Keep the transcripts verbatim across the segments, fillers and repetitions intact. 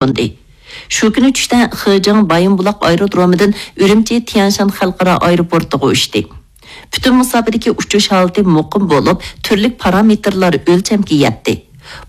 قوندى. شۇ كۈنى چۈشتە خېجېڭ بايىنبۇلاق ئايرودرومىدىن ئۈرۈمچى تيەنشان خەلقئارا ئايروپورتىغا ئۇچتى. پۈتۈن مۇساپىدىكى ئۇچۇش ھالىتى مۇقىم بولۇپ، تۈرلۈك پارامېتىرلار ئۆلچەمگە يەتتى.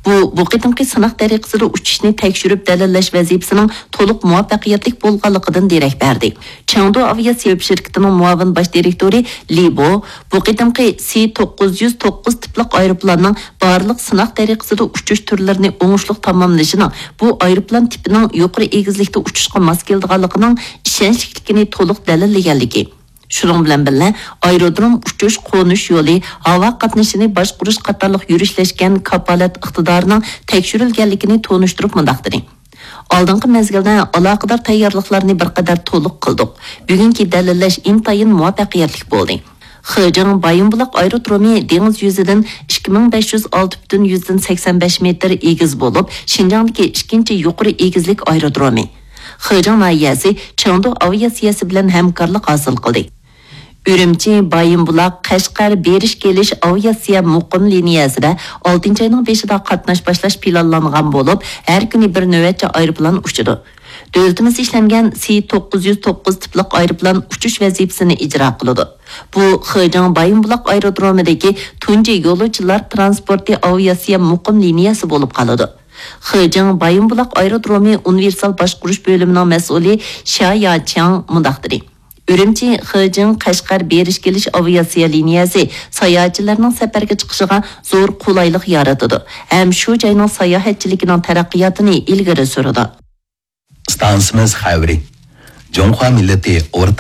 بۇ، بۇ قېتىمقى سىناق تەرىقىسىدە ئۇچۇشنى تەكشۈرۈپ دەلىللەش ۋەزىپىسىنىڭ تولۇق مۇۋەپپەقىيەتلىك بولغانلىقىدىن دېرەك بەردى. چېڭدۇ ئاۋىئاتسىيە شىركىتىنىڭ مۇئاۋىن باش دىرېكتورى لى بو بۇ قېتىمقى سى توققۇز يۈز توققۇز تىپلىق ئايروپىلاننىڭ بارلىق سىناق تەرىقىسىدە ئۇچۇش تۈرلىرىنى ئوڭۇشلۇق تاماملىشىنىڭ بۇ ئايروپىلان تىپىنىڭ يۇقىرى ئېگىزلىكتە ئۇچۇشقا ماس كېلىدىغانلىقىنىڭ ئىشەنچلىكلىكىنى تولۇق دەلىللىگەنلىكى، شۇنىڭ بىلەن بىللە، ئايرودروم ئۇچۇش، قونۇش يولى، ھاۋا قاتنىشىنى باشقۇرۇش قاتارلىق يۈرۈشلەشكەن كاپالەت ئىقتىدارىنىڭ تەكشۈرۈلگەنلىكىنى تونۇشتۇرۇپ مۇنداق دېدى: ئالدىنقى مەزگىلدە ئالاقىدار تەييارلىقلارنى بىر قەدەر تولۇق قىلدۇق. بۈگۈنكى دەلىللەش ئىنتايىن مۇۋەپپەقىيەتلىك بولدى. خېجېڭ بايىنبۇلاق ئايرودرومى دېڭىز يۈزىدىن ئىككى مىڭ بەش يۈز ئالتە پۈتۈن يۈزدىن سەكسەن بەش مېتىر ئېگىز بولۇپ، شىنجاڭدىكى ئىككىنچى يۇقىرى ئېگىزلىك ئايرودرومى. خېجېڭ ناھىيەسى چېڭدۇ ئاۋىئاتسىيەسى بىلەن ھەمكارلىق ھاسىل قىلدى. ئۈرۈمچى، بايىنبۇلاق، قەشقەر بېرىش كېلىش ئاۋىئاتسىيە مۇقىم لىنىيەسىدە ئالتىنچى ئاينىڭ بېشىدا قاتناش باشلاش پىلانلانغان بولۇپ، ھەر كۈنى بىر نۆۋەتچە ئايروپىلان ئۇچىدۇ. دۆلىتىمىزدە ئىشلەنگەن سى توققۇز يۈز توققۇز تىپلىق ئايروپىلان ئۇچۇش ۋەزىپىسىنى ئىجرا قىلىدۇ. بۇ خېجېڭ بايىنبۇلاق ئايرودرومىدىكى تۇنجى يولۇچىلار تىرانسپورتى ئاۋىئاتسىيە مۇقىم لىنىيەسى بولۇپ قالىدۇ. خېجېڭ بايىنبۇلاق ئايرودرومى ئۇنىۋېرسال باشقۇرۇش بۆلۈمىنىڭ مەسئۇلى شيا ياچياڭ مۇنداق دېدى: ئۈرۈمچى، خېجېڭ، قەشقەر بېرىش كېلىش ئاۋىئاتسىيە لىنىيەسى ساياھەتچىلەرنىڭ سەپەرگە چىقىشىغا زور قولايلىق يارىتىدۇ ھەم شۇ جاينىڭ ساياھەتچىلىكىنىڭ تەرەققىياتىنى ئىلگىرى سۈرىدۇ. ئىستانسىمىز خەۋىرى. جۇڭخۇا مىللىتى ئورتاق